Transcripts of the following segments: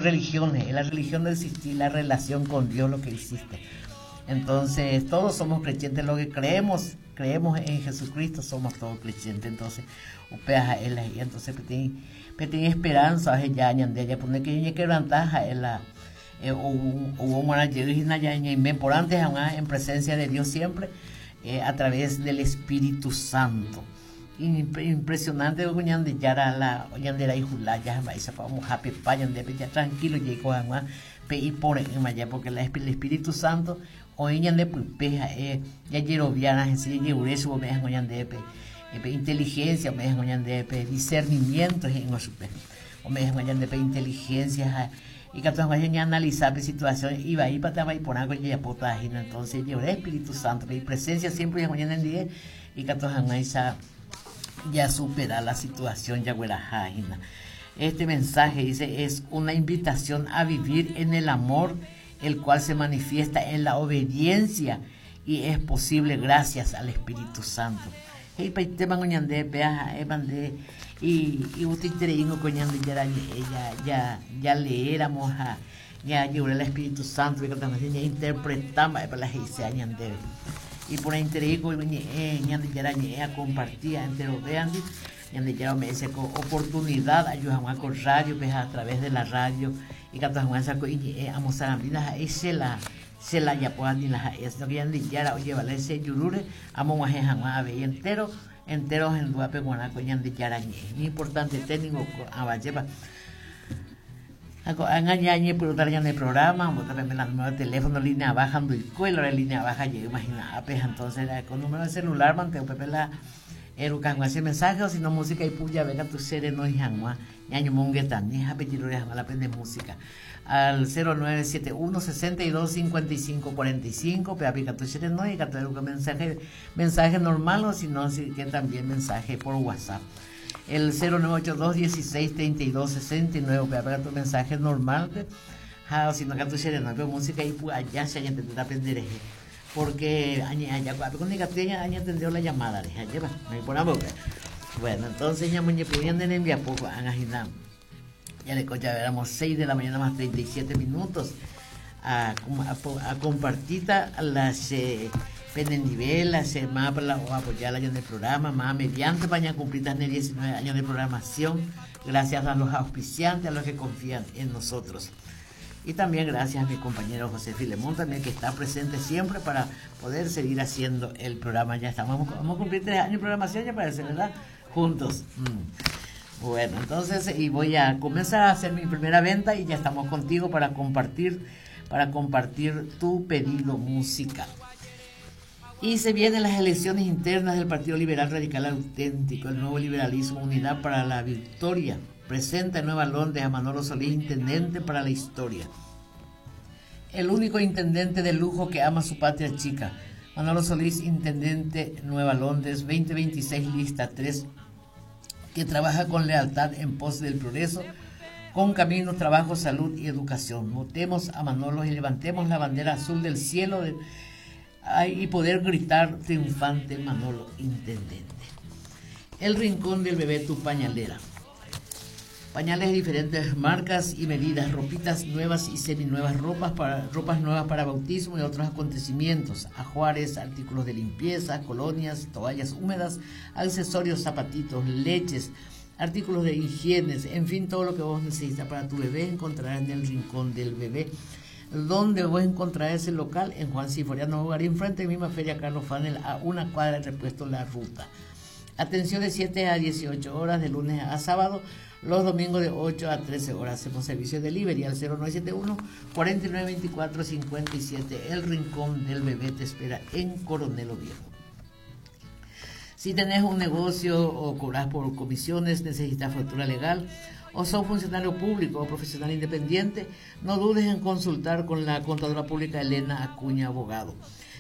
Religión, es la religión no existe, la relación con Dios lo que existe. Entonces, todos somos creyentes, lo que creemos, creemos en Jesucristo, somos todos creyentes. Entonces, upéva ha'e la he'i. Entonces, peteĩ, peteĩ esperanza oheja ñande jajapone que ñañequebranta ha'e la ou, ou omorã jey hína ñaime porãnte hag̃ua en presencia de Dios siempre eh, a través del Espíritu Santo. Impresionante ko Ñandejára la ñande rayhu lája ha mba'éichapa ombohapepa ñandéve ja tranquilo jaiko hag̃ua pe ipore'ỹma ja porque la el Espíritu Santo oĩ ñande pype ha'e jajeroviárã hese jajerure chupe ome'ẽ hag̃ua ñandéve pe pe inteligencia ome'ẽ hag̃ua ñandéve pe discernimiento he'íg̃ua chupe ome'ẽ hag̃ua ñandéve pe inteligencia ha ikatu hag̃ua ñaanalisa pe situación ivaípa térã iporãko jajapóta hína entonces jajerure Espíritu Santo pe ipresencia siempre oĩ hag̃ua ñanendive Ikatu hag̃uáicha jasupera la situación jagueraha hína. Este mensaje dice es una invitación a vivir en el amor, el cual se manifiesta en la obediencia y es posible gracias al Espíritu Santo. He'ipaitémango ñande péa ha'éma nde igustoitereíngo ko Ñandejára ñe'ẽ ja jaleéramo ha Ñajerure la Espíritu Santo ikatu hag̃ua ñainterpreta mba'épa la he'iséva ñandéve. Iporãiterei ko ñe'ẽ Ñandejára ñe'ẽ akomparti enterovéandi. Ñandejára ome'ẽ che ko oportunidad aju hag̃ua ko rádiope ha a través de la radio ikatu hag̃uáicha ko iñe'ẽ amosarambi ndaha'éi che la che la ajapóva ni la ha'éva, sino que Ñandejára ojevale che jurúre amog̃uahẽ hag̃ua avei entéro entéro ohendúvape g̃uarã ko Ñandejára ñe'ẽ. Iñimportantete ningo ko'ãva, ajépa. Ha ko'ág̃a ñañepyrũta ñane programa, ombota peme la número de teléfono línea baja ndoikói la línea baja jeýma hína ápe, ha entonces ko número de celular mante upépe la eruka hag̃ua che mensaje o si no música ipu jave katu che renói hag̃ua ñañomongetami ha pejerure hag̃ua la pende música al 0971 62 55 45 pévape ikatu che renói ikatu eruka mensaje mensaje normal o si no si que también mensaje por WhatsApp. El 0982 16 32 69 upévape katu mensaje normal-pe ha osino katu che renóipe música ipu aja che añatendéta penderehe porque añe'ẽ aja ko'ápe ko ndaikatúi añatendévo la llamada rehe ajépa oĩ porãpa upéva. Bueno, entonces ñamoñepyrũ ñane rembiapo ko'ág̃a hína jareko javéramo 6 de la mañana más 37 minutos a, a, a compartita la che penendive la che mapa la o apoyar la ñane programa más mediante pa ñacumplita ne 19 años de programación gracias a los auspiciantes a los que confían en nosotros y también gracias a mi compañero José Filemón también que está presente siempre para poder seguir haciendo el programa. Ya estamos, vamos a cumplir tres años de programación, ya parece, ¿verdad? Juntos. Mm. Bueno, entonces, y voy a comenzar a hacer mi primera venta y ya estamos contigo para compartir, para compartir tu pedido musical. Y se vienen las elecciones internas del Partido Liberal Radical Auténtico, el nuevo liberalismo, Unidad para la Victoria. Presenta en Nueva Londres a Manolo Solís, intendente para la historia. El único intendente de lujo que ama su patria chica. Manolo Solís, intendente Nueva Londres, 2026, lista 3, que trabaja con lealtad en pos del progreso, con camino, trabajo, salud y educación. Votemos a Manolo y levantemos la bandera azul del cielo de, y poder gritar triunfante Manolo Intendente. El rincón del bebé, tu pañalera. Pañales de diferentes marcas y medidas, ropitas nuevas y seminuevas, ropas, para, ropas nuevas para bautismo y otros acontecimientos, ajuares, artículos de limpieza, colonias, toallas húmedas, accesorios, zapatitos, leches, artículos de higiene, en fin, todo lo que vos necesitas para tu bebé encontrarás en el rincón del bebé. ¿Dónde voy a encontrar ese local? En Juan Sinforiano Bogarín, frente a la misma Feria Carlos Fanel, a una cuadra del repuesto La Ruta. Atención de 7 a 18 horas, de lunes a sábado, los domingos de 8 a 13 horas. Hacemos servicio de delivery al 0971 4924 57. El Rincón del Bebé te espera en Coronel Oviedo. Si tenés un negocio o cobras por comisiones, necesitas factura legal o sos funcionario público o profesional independiente, no dudes en consultar con la contadora pública Elena Acuña Abogado.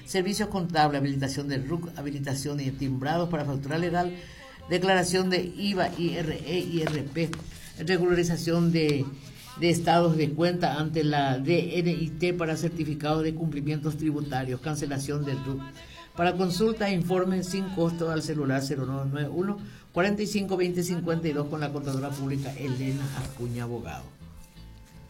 Servicios contables, habilitación de RUC, habilitación y timbrados para factura legal, declaración de IVA, IRE, IRP, regularización de, de estados de cuenta ante la DNIT para certificados de cumplimientos tributarios, cancelación del RUC. Para consulta e informe sin costo al celular 0991 45 20 52 con la contadora pública Elena Acuña Abogado.